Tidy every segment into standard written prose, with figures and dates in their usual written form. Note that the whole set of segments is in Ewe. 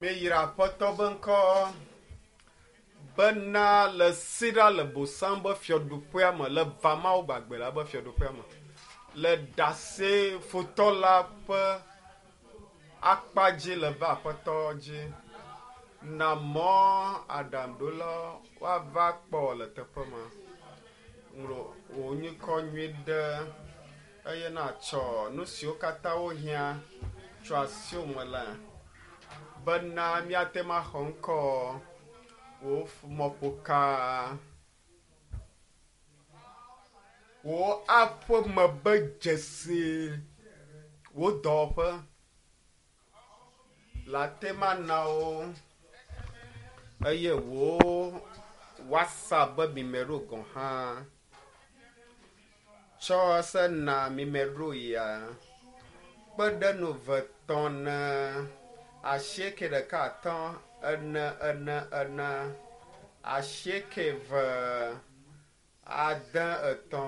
Míeyra Aƒetɔ be ŋkɔ bena le si ɖa le bosam be fiaɖuƒea me, le va Mawu gbagbe la be fiaɖuƒea me, le ɖase futɔ la ƒe akpa dzi le va Aƒetɔ dzi. Na mɔ aɖaŋuɖola woava kpɔ le teƒe ma. Ŋlɔ wò nyikɔ nyui ɖe eye natsɔ nu siwo katã wohiã tso asiwò me la bena míate ŋu axɔ ŋkɔ wò mɔƒoka wò aƒeme be dzesi wò dɔwɔƒe le ate ŋu ana wo eye wò WhatsApp be mimero gɔ̃ hã tsɔ se na mimero ya kpe ɖe nu ve tɔ̃ ne asieke ɖeka atɔ̃ ene ene ene asieke ve ade etɔ̃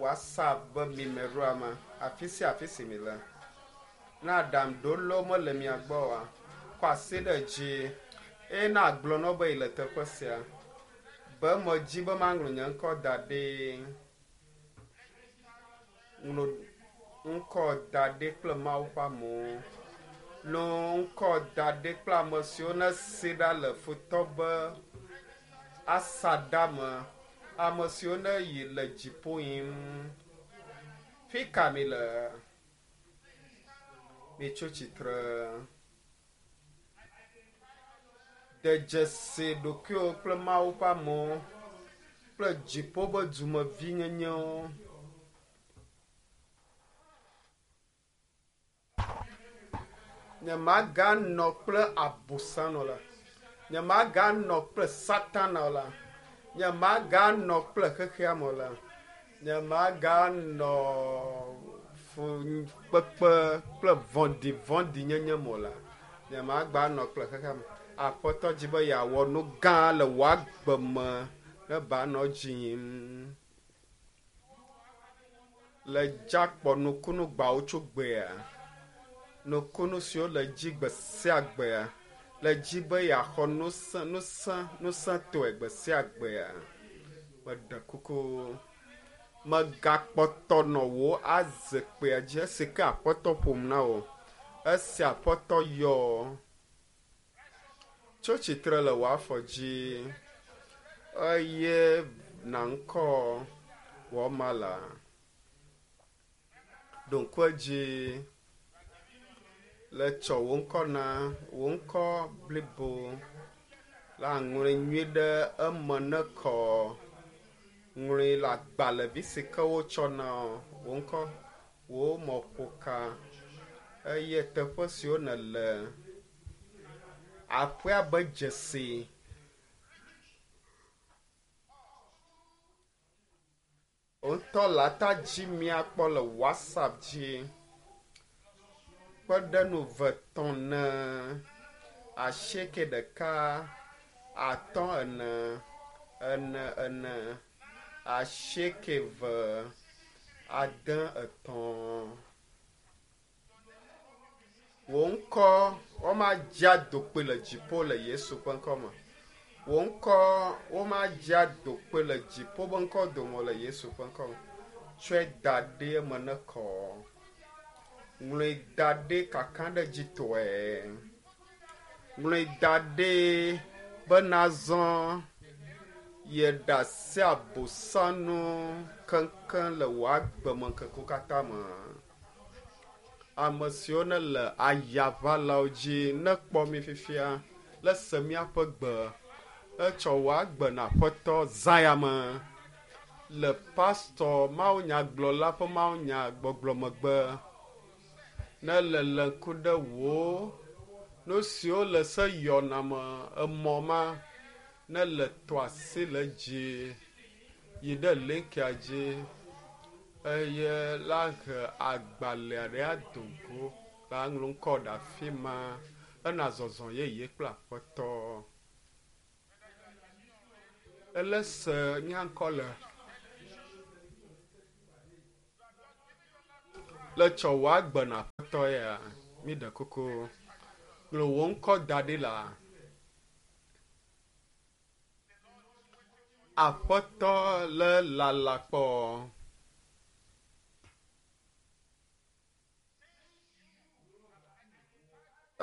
WhatsApp be mimeroa me afi sia afi si mi le. Ne aɖaŋuɖolawo mele mia gbɔ oa, kɔ asi ɖe dzi eye ne agblɔ na wo be yele teƒe sia be medzi be maŋlɔ nye ŋkɔ da ɖi. Ŋlɔ ŋkɔ da ɖi kple Mawu ƒe amewo. Ŋlɔ ŋkɔ da ɖi kple ame siwo nesi ɖa le futɔ be asaɖa me. Ame siwo ne yi le dziƒo yim. Fi ka mi le? Mitso tsitre. De dzesi ɖokuiwo kple Mawu ƒe amewo kple dziƒo be dumevinyenyewo. Nyemaganɔ kple abosam o la. Nyemaganɔ kple Satana o la. Nyemaganɔ kple xexea me o la. Nyemaganɔ fukpekpe kple vɔ̃ɖivɔ̃ɖinyenye me o la. Nyemagbanɔ kple xexea me. Aƒetɔ dzi be yeawɔ nu gã le wò agbe me ne ba nɔ dzi yim. Le dzakpɔ nukunu gbawo tso gbea. Nukunu siwo le dzi gbe sia gbea. Le dzi be yeaxɔ nusẽ nusẽ nusẽtɔe gbe sia gbea. Meɖe kuku. Megakpɔtɔ nɔ wò azikpuia dzi esi ke Aƒetɔ ƒom na wò. Esi Aƒetɔ yɔ. Tso tsitre le wò afɔ dzi eye na ŋkɔ wò mala. Ɖo ŋku edzi le tsɔ wò ŋkɔ na wò ŋkɔ blibo la ŋlɔe nyui ɖe eme ne kɔ. Ŋlɔe le agbalẽvi si ke wotsɔ na wò ŋkɔ, wò mɔƒoka eye teƒe siwo nèle. Aƒea be dzesi. Wò ŋutɔ le ata dzi míakpɔ le WhatsApp dzi. Kpe ɖe nu ve tɔ̃ ne asieke ɖeka atɔ̃ ene ene ene asieke ve ade etɔ̃. Wò ŋkɔ womadze adokpoe le dziƒo le Yesu ƒe ŋkɔ me. Wò ŋkɔ womadze adokpoe le dziƒo ƒe ŋkɔ dome le Yesu ƒe ŋkɔ me. Tsɔe da ɖi eme ne kɔ. Ŋlɔe da ɖi kakaɖedzitɔe. Ŋlɔe da ɖi be nazɔ yeɖe asi abosanu keŋkeŋ le wò agbemeŋkekewo katã me. Ame siwo ne le ayaʋalawo dzi nekpɔ mi fifia le se míaƒe gbe etsɔ wò agbe na Aƒetɔ zã ya me le pastɔ mawunyagblɔla ƒe mawunyagbɔgblɔ megbe. Ne le ŋku ɖe wò nu siwo le se yɔna me emɔ ma ne le tɔ asi le dzi yi ɖe linkia dzi eye la he agbalẽ ɖe ado go la ŋlɔ ŋkɔ ɖe afi ma ena zɔzɔ yeye kple Aƒetɔ. Ele se mía ŋkɔ le le tsɔ wò agbe na Aƒetɔ ya mi ɖe kuku. Ŋlɔ wò ŋkɔ da ɖi la. Aƒetɔ le lala kpɔ.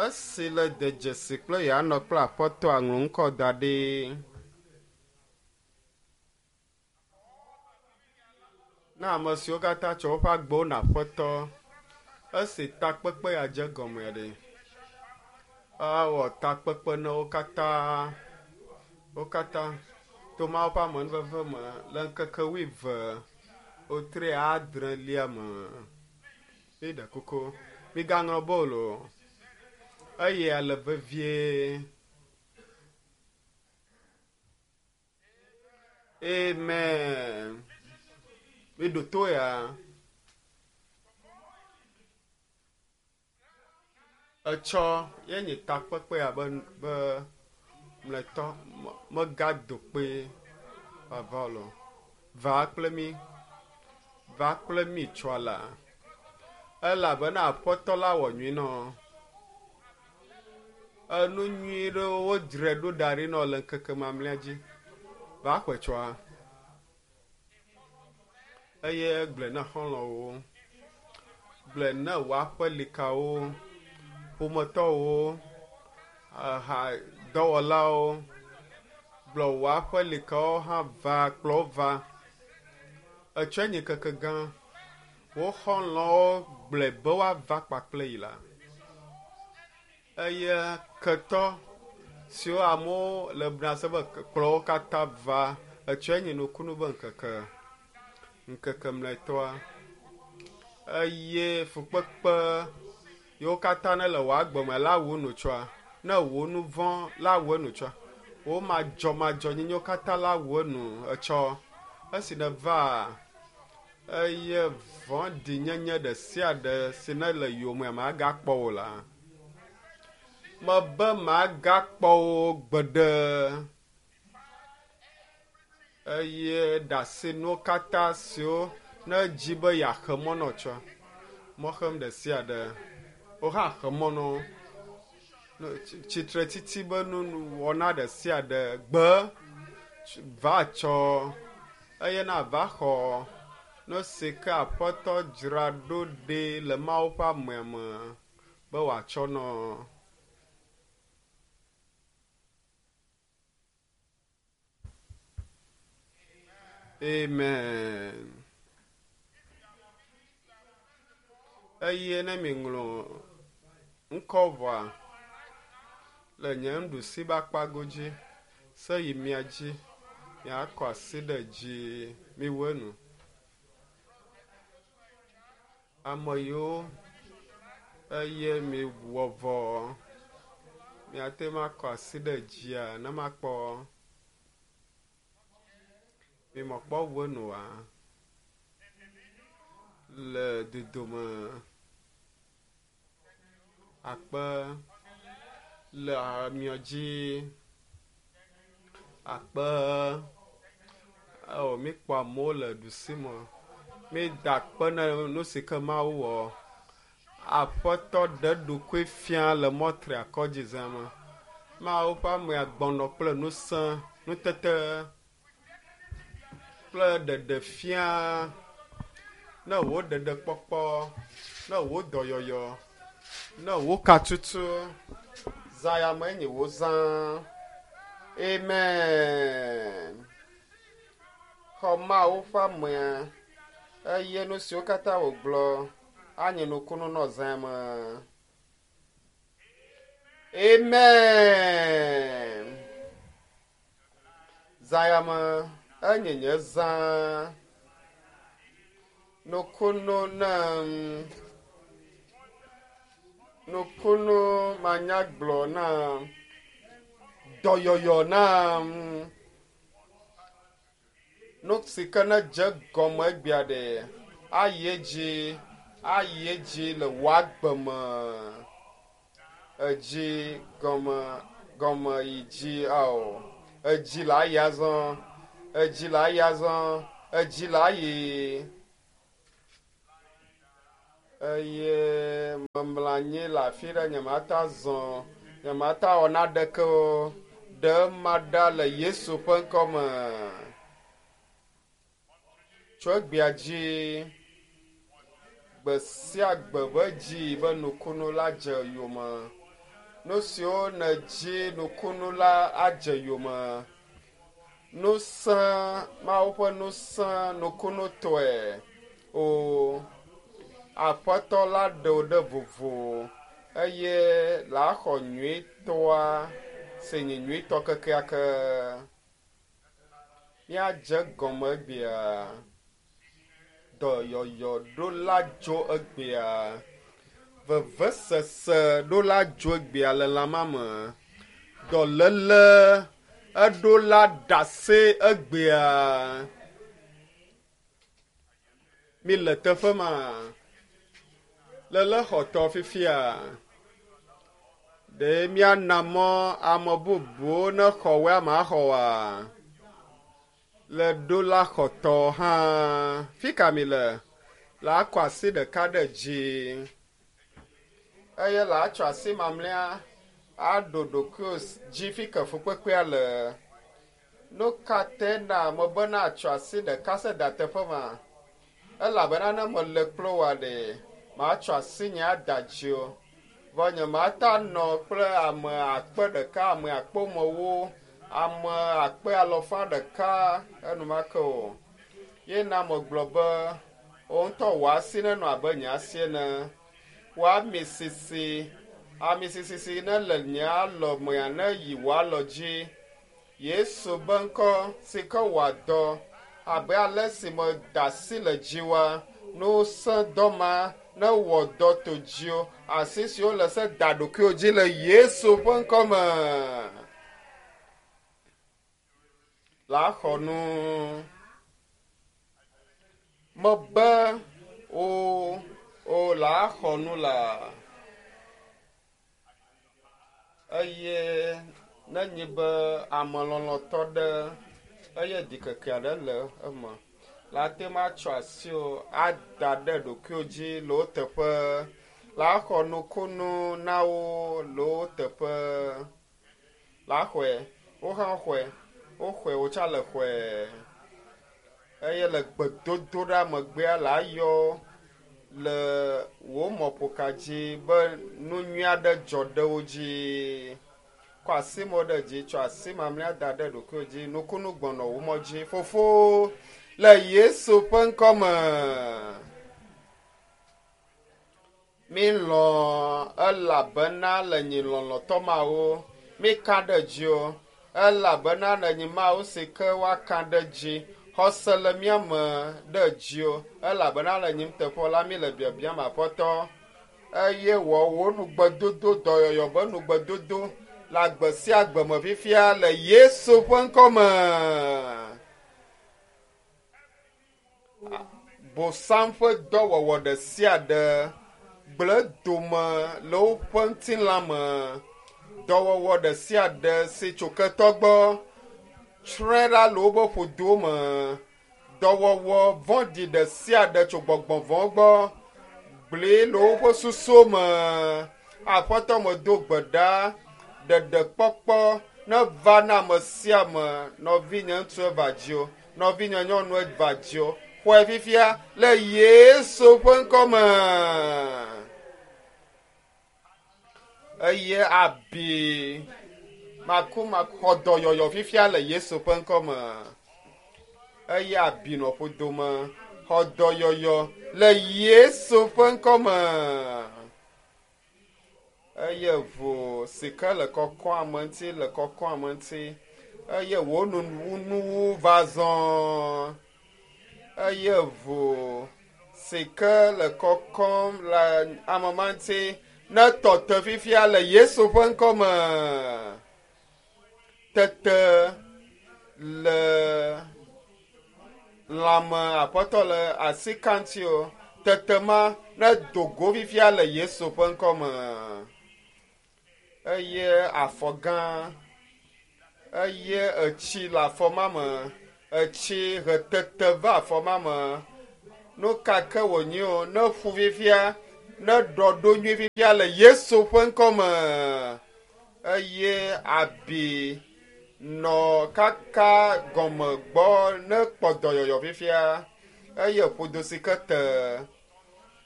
Esi le de dzesi kple yeanɔ kple aƒetɔa ŋlɔ ŋkɔ da ɖi. Na ame siwo katã tsɔ woƒe agbewo na aƒetɔ esi takpekpe ya dze gɔme ɖe. Awɔ takpekpe na wo katã. Wo katã to Mawu ƒe amenuveve me le ŋkeke wuieve wotri adrelia me. Miɖe kuku, migaŋlɔ be o loo. Eya le vevie. Amen. Miɖo to ya. Etsɔ ye nye takpekpe ya be be mlɔetɔ megado kpe vava o. Va kple mi. Va kple mi tsɔa la. Elabena Aƒetɔ la wɔ nyui nɔ. Enu nyui ɖewo wodzrae ɖo da ɖi nɔ le ŋkeke mamlɛa dzi. Va xɔe tsɔa. Eye gblɔe na xɔlɔ̃wo. Gblɔe na wò aƒelikawo, ƒometɔwo, aha dɔwɔlawo. Gblɔ wò aƒelikawo hã va kplɔ wo va. Etsɔe nye ŋkeke gã. Wo xɔlɔ̃wo gblɔe be woava kpakple yi la. Eye ketɔ siwo amewo le bna se be kplɔ wo katã va. Etsɔe nye nukunu be ŋkeke. Ŋkeke mlɔetɔa. Eye fukpekpe yiwo katã ne le wò agbe me la wu nu tsɔa. Ne wò nu vɔ̃ la wu enu tsɔa. Wò madzɔmadzɔnyenyewo katã la wu enu etsɔ. Esi nèva eye vɔ̃ɖinyenye ɖe sia ɖe si ne le yowòme magakpɔ wò la. Mebe magakpɔ wò gbeɖe. Eye ɖe nuwo katã siwo ne dzi be yeaxe mɔ nɔ tsɔ. Mɔxem ɖe sia ɖe. Wo hã xe mɔ nɔ. Tsitretiti be nuwɔna ɖe sia ɖe gbe va tsɔ eye na va xɔ nu si ke Aƒetɔ dzra ɖo ɖi le Mawu ƒe amea me be wòatsɔ nɔ. Amen. Eye ne miŋlɔ ŋkɔ vɔa le nye nuɖusi be akpa godzi se yi mia dzi miakɔ asi ɖe dzi miwu enu. Ame yiwo eye miwɔ vɔ miate ŋu akɔ asi ɖe dzia ne makpɔ. Mimekpɔ wu enu oa? Le dodome akpe le miɔ dzi akpe ewɔ míkpɔ amewo le ɖusi me. Mída akpe ne nu si ke Mawu wɔ. Aƒetɔ ɖe eɖokui fia le mɔtri akɔdzi zã me. Mawu ƒe amea gbɔnɔ kple ŋusẽ, nutete kple ɖeɖefia ne wò ɖeɖekpɔkpɔ, ne wò dɔyɔyɔ, ne wò katutu. Zã ya me enye wò zã. Amen. Xɔ Mawu ƒe amea eye nu siwo katã wògblɔ anye nukunu nɔ zã me. Amen. Zã ya me enye nye zã. Nukunu nam. Nukunu manyagblɔ nam. Dɔyɔyɔ nam. Nu si ke ne dze gɔme egbea ɖe ayi edzi ayi edzi le wò agbe me. Edzi gɔme gɔme yi dzi ao. Edzi le ayi azɔ. Edzi le ayi azɔ. Edzi le ayi. Eye memlɔ anyi le afi ɖe nyemate azɔ. Nyemate wɔ naɖeke o. Ɖe ma ɖa le Yesu ƒe ŋkɔme. Tso egbea dzi, gbe sia gbe be dzi be nukunu la dze yome. Nu siwo nèdzi nukunu la adze yome. Nusẽ, Mawu ƒe nusẽ nukunutɔe o. Aƒetɔ la ɖe wò ɖe vovo eye la xɔ nyuitɔa si nye nyuitɔ kekeake. Míadze gɔme egbea. Dɔyɔyɔ ɖo la dzo egbea. Vevesese ɖo la dzo egbea le lãma me. Dɔléle eɖo la ɖase egbea. Mi le teƒe ma. Lele xɔtɔ fifia. Ɖe míana mɔ ame bubuwo ne xɔ woe ama xɔ woa? Le ɖo la xɔtɔ hã. Fi ka mi le? La akɔ asi ɖeka ɖe dzi. Eye la atsɔ asi mamlɛa aɖo ɖokuiwò dzi fi ke fukpekpea le. Nu ka te na ame be natsɔ asi ɖeka se da teƒe ma? Elabena ne mele kple wòa ɖe, matsɔ asi nye ada dzi o. Vɔ nyemate nɔ kple ame akpe ɖeka, ame akpemewo, ame akpe alɔfa ɖeka enumake o. Ye na megblɔ be, wò ŋutɔ wò asi nenɔ abe nye asi ene. Wò ami sisi, ami sisi si ne le nye alɔ mea ne yi wò alɔ dzi. Yesu be ŋkɔ si ke wòa dɔ abe ale si meda asi le dziwoa, nusẽ dɔ ma ne wɔ dɔ to dziwò. Asi siwo le se da ɖokuiwò dzi le Yesu ƒe ŋkɔ me. La xɔ nu. Mebe o o la xɔ nu la. Eye nenye be ame lɔlɔ̃tɔ ɖe eye ɖikeke aɖe le eme, la te ŋu atsɔ asiwò ada ɖe ɖokuiwò dzi le wo teƒe. La xɔ nukunu na wo le wo teƒe. La xɔe, wo hã xɔe, woxɔe wotsa le xɔe. Eye le gbedodoɖa megbea la yɔ le wò mɔƒoka dzi be nu nyui aɖe dzɔ ɖe wo dzi. Kɔ asi mɔ ɖe dzi, tsɔ asi mamlɛa da ɖe ɖokuiwò dzi. Nukunu gbɔnɔ wò mɔ dzi. Fofo, le Yesu ƒe ŋkɔ me. Mi lɔ̃ elabena le nyi lɔlɔ̃tɔ mawo. Mi ka ɖe dzi o. Elabena le nyi Mawu si ke woaka ɖe dzi. Xɔse le mía me ɖe dzi o. Elabena le nyim teƒe la mi le biabiam Aƒetɔ. Eye wɔ wò nugbedodo, dɔyɔyɔ be nugbedodo le agbe sia agbe me fifia le Yesu ƒe ŋkɔ me. Bosam ƒe dɔwɔwɔ ɖe sia ɖe gblẽ dome le woƒe ŋutilã me. Dɔwɔwɔ ɖe sia ɖe si tso ketɔ gbɔ tsrɔ̃e ɖa le woƒe ƒodowo me. Dɔwɔwɔ vɔ̃ɖi ɖe sia ɖe tso gbɔgbɔ vɔ̃ gbɔ gblẽ le woƒe susuwo me. Aƒetɔ medo gbe ɖa ɖeɖekpɔkpɔ ne va na ame sia ame. Nɔvinye ŋutsu eva dziwò, nɔvinye nyɔnu eva dziwò. Xɔe fifia le Yesu ƒe ŋkɔ me. Eye abi makumaku xɔ dɔyɔyɔ fifia le Yesu ƒe ŋkɔ me. Eye abi nɔ ƒodome xɔ dɔyɔyɔ le Yesu ƒe ŋkɔ me. Eye ʋu si ke le kɔkɔm ame ŋuti le kɔkɔm ame ŋuti. Eye wò nuwuwu va zɔ. Eye ʋu si ke le kɔkɔm le ame ma ŋuti ne tɔ te fifia le Yesu ƒe ŋkɔ me. Tete le lãme Aƒetɔ le asi ka ŋuti o. Tete ma ne do go fifia le Yesu ƒe ŋkɔ me. Eye afɔ gã, eye etsi le afɔ ma me. Etsi hetete va afɔ ma me. Nu ka ke wònye o, ne ƒu fifia, ne ɖɔ ɖo nyui fifia le Yesu ƒe ŋkɔ me. Eye abi nɔ kaka gɔme gbɔ ne kpɔ dɔyɔyɔ fifia eye ƒodo si ke te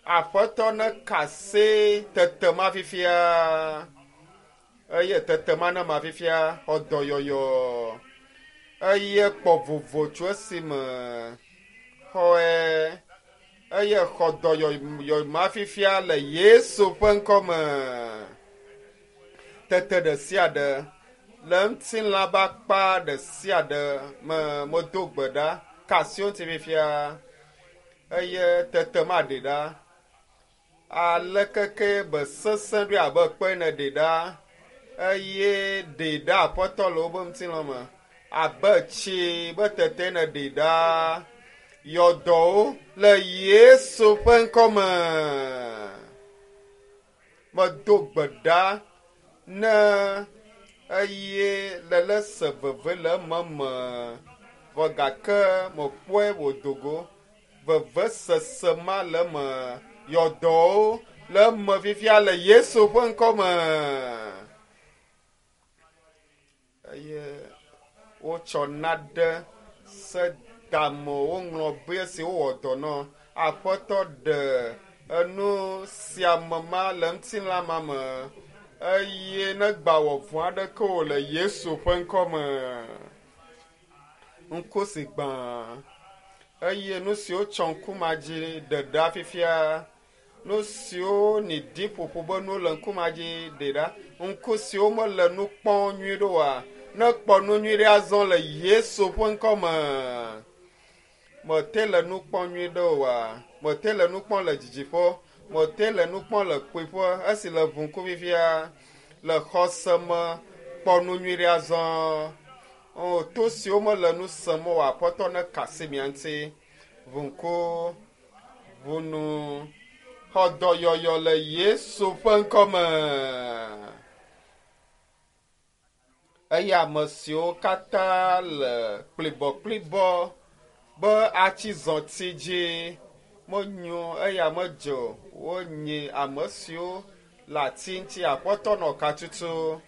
aƒetɔ ne kase tete ma fifia eye tete ma ne ma fifia xɔ dɔyɔyɔ eye kpɔ vovo tso esime xɔe eye xɔ dɔyɔyɔ ma fifia le Yesu ƒe ŋkɔme. Tete ɖe sia ɖe le ŋutilã ƒe akpa ɖe sia ɖe me medo gbe ɖa ka asi wo ŋuti fifia eye tete ma ɖe ɖa. Aleke ke be sesẽ ɖoe abe kpe ene ɖe ɖa eye ɖe ɖa aƒetɔ le woƒe ŋutilã me abe tsi be tete ene ɖe ɖa. Yɔdɔwo le Yesu ƒe ŋkɔme. Medo gbe ɖa ne eye lele se veve le ememe vɔ gake mekpɔe wòdo go. Veve sese ma le eme. Yɔdɔwo le eme fifia le Yesu ƒe ŋkɔme. Eye wotsɔ naɖe se dame woŋlɔ be esi wowɔ dɔ nɔ aƒetɔ ɖe enu sia me ma le ŋutilã ma me eye ne gba wɔ vɔ̃ aɖeke o le Yesu ƒe ŋkɔme. Ŋku si gbã eye nu siwo tsɔ ŋku ma dzi ɖe ɖa fifia nu siwo ni di ƒoƒo be nuwo le ŋku ma dzi ɖe ɖa. Ŋku siwo mele nu kpɔm nyuie ɖo oa, ne kpɔ nu nyui ɖe azɔ le Yesu ƒe ŋkɔme. Mete le nu kpɔm nyuie ɖe oa, mete le nu kpɔm le didiƒe, mete le nu kpɔm le kpuiƒe esi le ʋu ŋku fifia le xɔse me kpɔ nu nyui ɖe azɔ. O, to siwo mele nu sem oa, aƒetɔ ne ka asi mia ŋuti. Ʋu ŋku, ʋu nu, xɔ dɔyɔyɔ le Yesu ƒe ŋkɔme. Eye ame siwo katã le kplibɔkplibɔ be atsi zɔti dzi menyo eya medze o. Wonyi ame siwo le ati ŋuti aƒetɔ nɔ ka tutu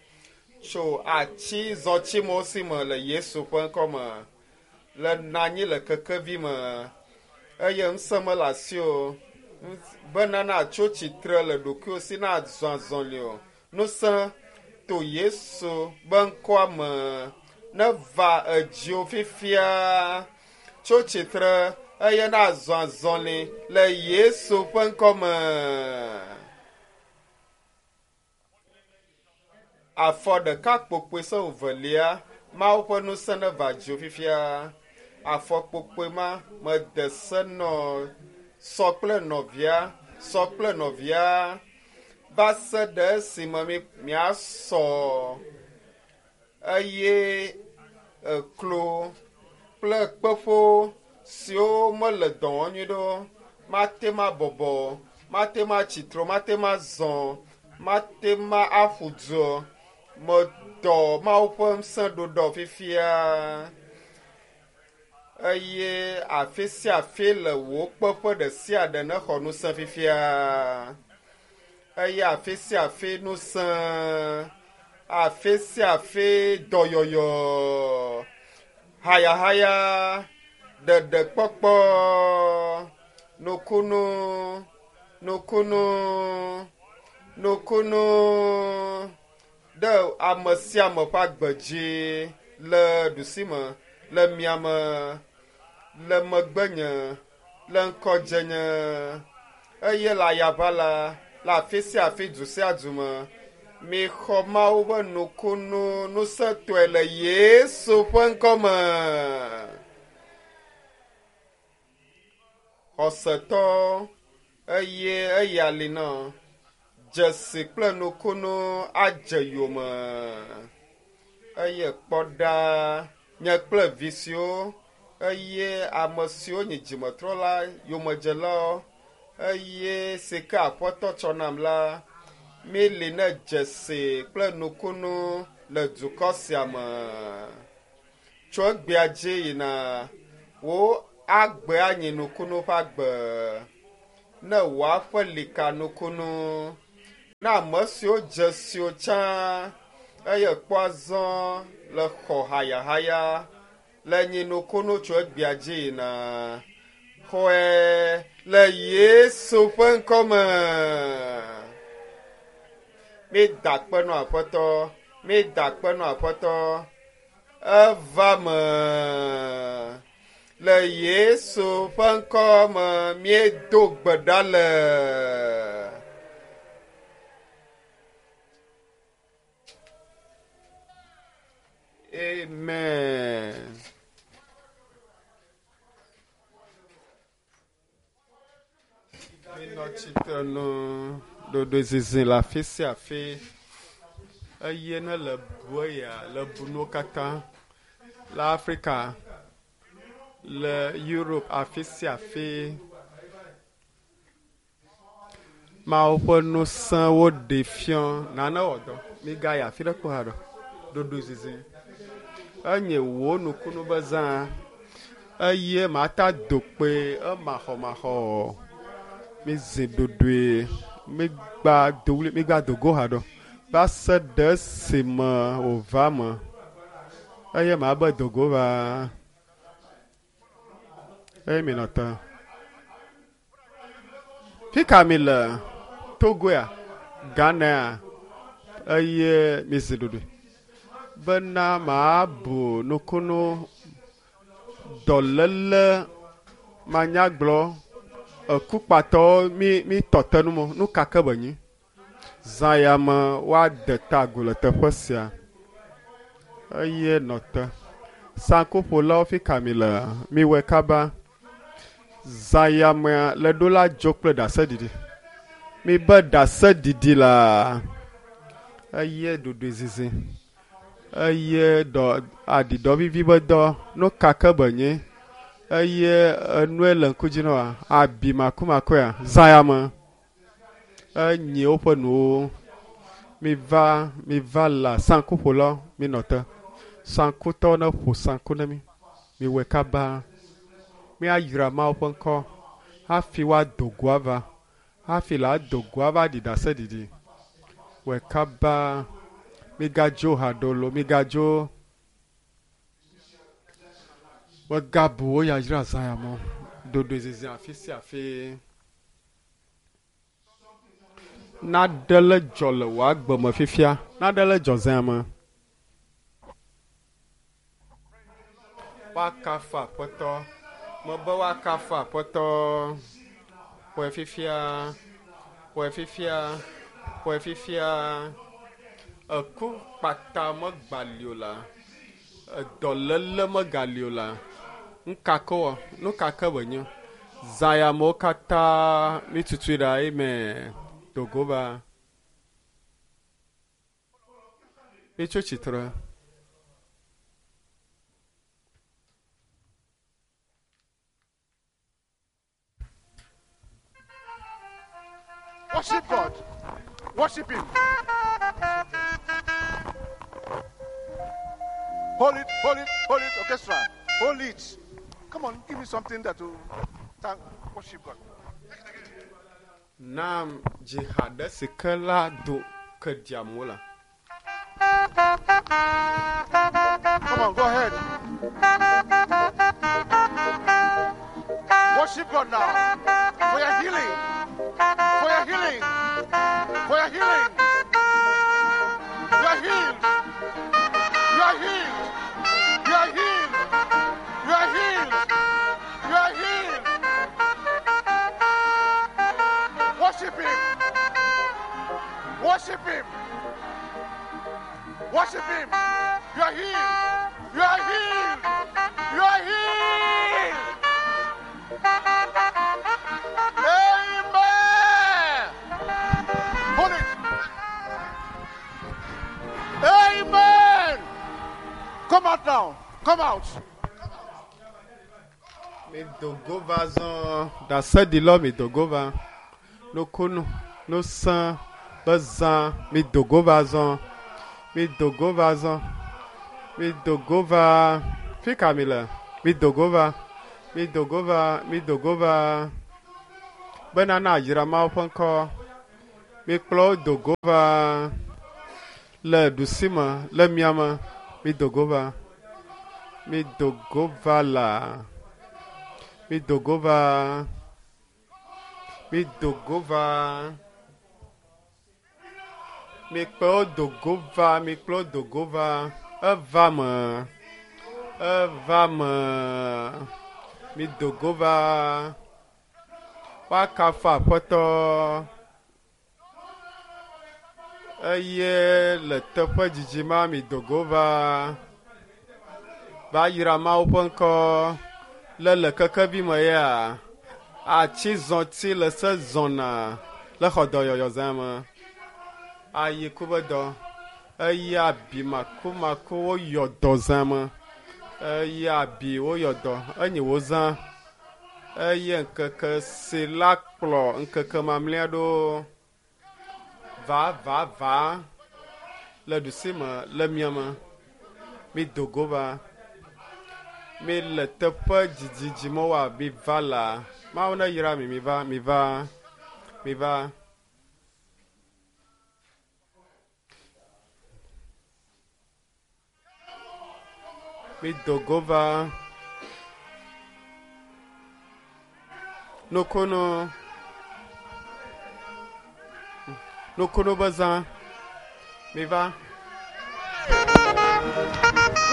tso atsi zɔtimewo si me le Yesu ƒe ŋkɔme le nɔ anyi le kekevi me eye ŋusẽ mele asi o bena natso tsitre le ɖokuiwò si nazɔ azɔli o. Ŋusẽ to Yesu be ŋkɔa me neva edziwò fifia. Tso tsitre eye nazɔ azɔli le Yesu ƒe ŋkɔme. Afɔ ɖeka kpokpoe se velia, Mawu ƒe ŋusẽ neva dziwò fifia. Afɔ kpokpoe ma mede se nɔ sɔ kple nɔvia, sɔ kple nɔvia va se ɖe esime miasɔ eye eklo kple kpeƒo siwo mele dɔ wɔm nyuie ɖo mate ma bɔbɔ, mate ma tsitre, mate ma zɔ, mate ma aƒu du. Medɔ Mawu ƒe ŋusẽ ɖoɖɔ fifia eye afi sia afi le wò kpeƒe ɖe sia ɖe nexɔ ŋusẽ fifia eye afi sia afi ŋusẽ, afi sia afi dɔyɔyɔ, hayahaya, ɖeɖekpɔkpɔ, nukunu, nukunu, nukunu ɖe ame sia ame ƒe agbe dzi le ɖusime, le miame, le megbenye, le ŋkɔdzenye eye le ayaʋala le afi sia afi du sia du me. Mixɔ Mawu ƒe nukunu ŋusẽtɔe le Yesu ƒe ŋkɔme. Xɔsetɔ eye eya li nɔ dzesi kple nukunu adze yome eye kpɔ ɖa nye kple vi siwo eye ame siwo nye dzimetrɔla yomedzelawo eye si ke aƒetɔ tsɔ nam la míeli ne dzesi kple nukunu le dukɔ sia me. Tso egbea dzi yina wò agbe anyi nukunu ƒe agbe ne wò aƒe li ka nukunu. Ne ame siwo dze siwo tsã Eye kpɔ azɔ le xɔ hayahaya le nyinukunu tso egbea dzi yina. Xɔe le Yesu ƒe ŋkɔme. Mi da akpe nɔ Aƒetɔ. Mi da akpe nɔ Aƒetɔ. Eva me. Le Yesu ƒe ŋkɔme míedo gbe ɖa le. Amen. Minɔ tsitre nu ɖoɖoezizi le afi sia afi eye ne le bu eya le bu nuwo katã le Afrika, le Europe afi sia afi. Mawu ƒe ŋusẽwo ɖe fiɔ nane wɔ dɔ. Migayi afi ɖe kpɔ haɖe o. Ɖoɖoezizi. Enye wò nukunu be zã eye mata do kpe emaxɔmaxɔ. Mizi ɖoɖoe. Migba do ɣli, migba do go haɖe o. Va se ɖe esime wòva me eye mabe do go va. Eye minɔ te. Fika mi le? Togoa? Ghanaa? Eye mizi ɖoɖoe bena mabu nukunu dɔléle manyagblɔ ekukpatɔwo mi mi tɔ te nu mo. Nu ka ke be nyi? Zã ya me woade ta agu le teƒe sia. Eye nɔ te. Saŋkuƒolawo fika mi le? Miwɔe kaba. Zã ya mea le ɖo la dzo kple ɖaseɖiɖi. Mibe ɖaseɖiɖi la eye ɖoɖoezizi eye dɔ aɖiɖɔ vivi be dɔ nu ka ke be nyi eye enue le ŋku dzi na woa abi makumakuea zã ya me enyi woƒe nuwo. Miva miva la saŋkuƒolawo minɔ te. Saŋkutɔwo ne ƒo saŋku ne mi. Miwɔe kaba. Míayra Mawu ƒe ŋkɔ hafi woado go ava. Hafi la do go ava ɖi ɖaseɖiɖi. Wɔe kaba. Migadzo haɖe o lo, migadzo. Megabu wo yayra zã ya me o. Ɖoɖoezizi afi sia afi. Naɖe le dzɔ le wò agbe me fifia. Naɖe le dzɔ zã ya me. Woakafu Aƒetɔ. Mebe woakafu Aƒetɔ. Xɔe fifia. Xɔe fifia. Xɔe fifia. Eku kpata megbali o la. Edɔléle megali o la. Nuka ke wɔ? Nu ka ke be nye? Zã ya mewo katã mitutui ɖa. Amen. Do go va. Mitso tsitre. Worship God. Worship Him. Hold it, hold it, hold it, orchestra. Hold it. Come on, give me something that will thank, worship God. Nam dzi ha ɖe si ke la do ke ɖiam la. Come on, go ahead. Worship God now for your healing. For your healing. For your healing. You are healed. You are healed. You are healed. You are healed. You are healed. Worship Him. Worship Him. Worship Him. You are healed. You are healed. You are healed. Amen. Hold it. Amen. Come out now. Come out. Mi do go va zɔ ɖaseɖilɔ mi do go va. Nukunu nusẽ be zã mi do go va zɔ. Mi do go va zɔ. Mi do go va. Fika mi le? Mi do go va. Mi do go va. Mi do go va. Bena na ayra Mawu ƒe ŋkɔ. Mi kplɔ wo do go va. Le ɖusime, le miame, mi do go va. Mi do go va la. Mi do go va. Mi do go va. Mi kplɔ wo do go va, mi kplɔ wo do go va. Eva me. Eva me. Mi do go va. Woakafu Aƒetɔ. Eye le teƒe dzidzi ma mi do go va. Va yra Mawu ƒe ŋkɔ. Le le kekevi me ya. Atsi zɔti le se zɔna le xɔ dɔyɔyɔ zã me. Ayi ku be dɔ. Eye abi makumaku woyɔ dɔ zã me. Eye abi woyɔ dɔ. Enyi wo zã. Eye ŋkeke si la kplɔ ŋkeke mamlɛa ɖo. Va va va le ɖusime le miame. Mi do go va. Mi le teƒe dzidzi dzi me wa mi va la. Mawu ne yra mi mi va mi va mi va. Mi do go va. Nukunu. Nukunu be zã. Mi va.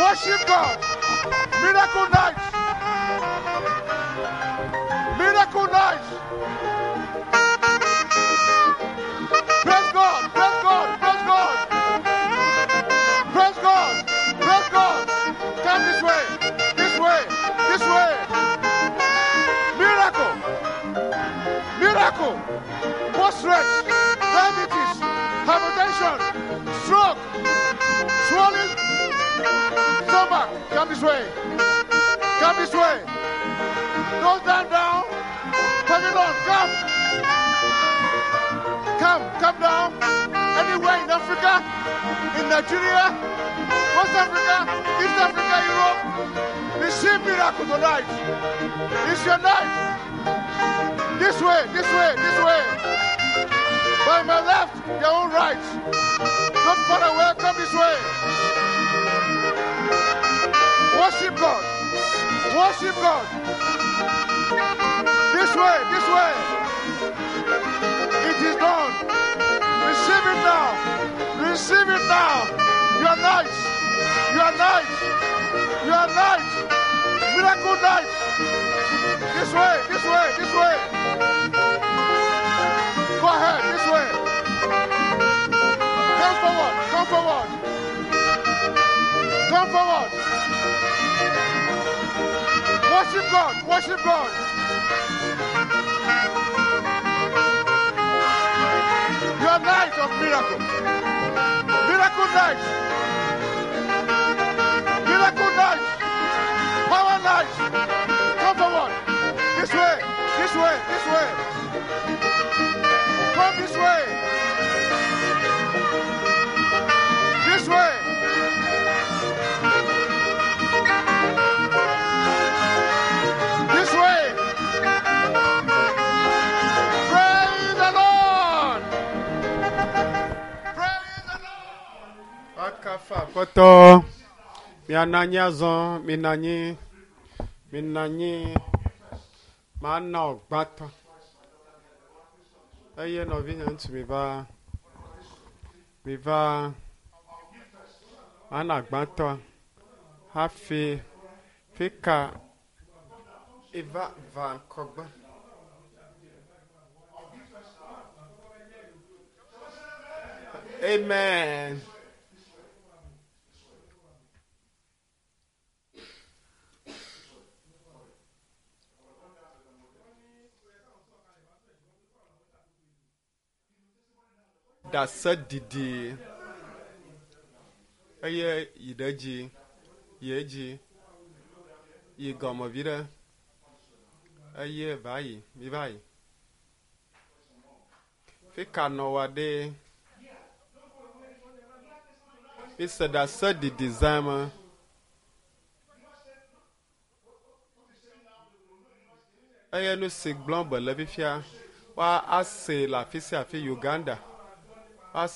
Worship God. Miracle night. Miracle night. Praise God. Praise God. Praise God. Praise God. Praise God. Come this way. This way. This way. Miracle. Miracle. Prostrate. Diabetes. Hypertension. Stroke. Swelling. Stomach. Come this way. Come this way. Go down, down. Pavilion, come. Come, come down. Anywhere in Africa, in Nigeria, West Africa, East Africa, Europe. Receive miracle tonight. It's your night. This way, this way, this way. By my left, your own right. Not far away, come this way. Worship God. Worship God. This way, this way. It is done. Receive it now. Receive it now. You are nice. You are nice. You are nice. Miracle night. This way, this way, this way. Go ahead, this way. Come forward, come forward. Come forward. Worship God, worship God. Your night of miracle. Miracle night. Miracle night. Power night. Come forward. This way, this way, this way. Come this way. This way. This way. Praise the Lord. Praise the Lord. Woakafu Aƒetɔ. Mianɔ anyi azɔ. Minɔ anyi. Minɔ anyi. Mana wò gbãtɔ. Eye nɔvinye ŋutsu mi va. Mi va. Mana gbãtɔ hafi fika eva va ŋkɔgbe. Amen. Ɖase didi eye yi ɖe edzi, yi edzi, yi gɔme vi ɖe eye va yi, mi va yi. Fi ka nɔ wa ɖe? Mi se ɖase didi zã me. Eye nu si gblɔm be le fifia, woa ase le afi sia afi Uganda. Woase